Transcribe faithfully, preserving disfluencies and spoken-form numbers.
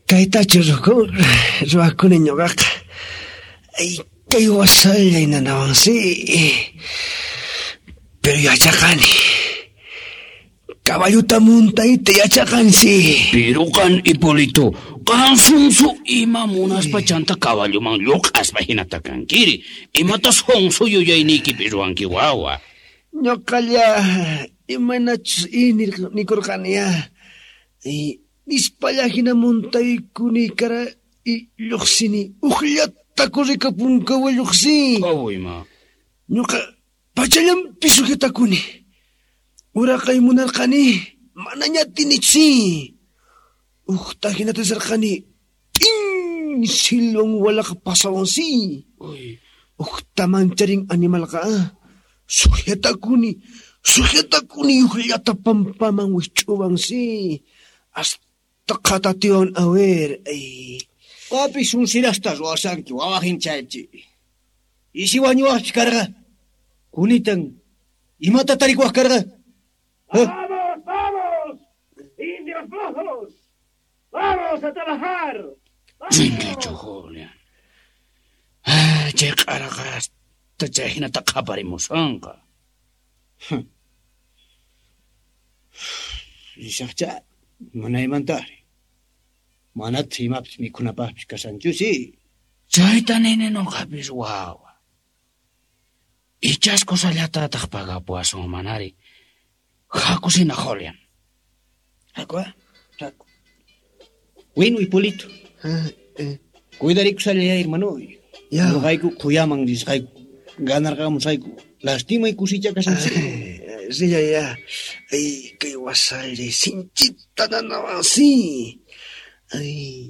Kaytachu ruwakuni ñuqaqa. Ay, kay wasallay nanawansi. Pero yachaqani. Caballuta muntayta yachaqansi. Pero qan, Hipólito, qan sunsu ima munaspa chanta caballuman lluq'aspa hinata kankiri. Imata sunsu yuyayniykipi ruwanki wawa. Ñuqalla imaynachus nikurqani ya. Nispalla hina muntaykuni kara y lluqsini. Uqllata corrikapunkawa lluqsin. Qawima. Ñuqa pachallanpi sujetakuni. Uraqay munarqani manaña atinichu. Uqta hinata sarqani t'in silwan walaqa pasawansi. Uqta mancharin animalqa sujetakuni sujetakuni uqllata pampaman wich'uwansi. Hasta qhatatiwan a ver. Ay. Qapi sunsirasta ruwasanki wawajin chaychi. Isi wañuwaqpis karqa. Kunitan imata tarikuwaq karqa. ¡Vamos, vamos! ¡Indios flojos! ¡Vamos a trabajar! Rinkichu, Julián. Ah, chay q'araqa hasta chay hinata qhaparimushanqa. Risaqcha, munaymantari. Manataq imapis mikhunapaqpis kashanchusi. Chayta nini nuqapis wawa. Ichas kusallatataq pagapuwasun manari. Hakusina, Julián. Haku, haku. Bueno, Hipólito. Cuidarikusallaya, hermano. Ñuqayku quyaman risqayku. Ganarqamusayku. Lastimay kusicha kashanchis. Rillaya. Ay, kay wasallay sinchita nanawansi. Ay.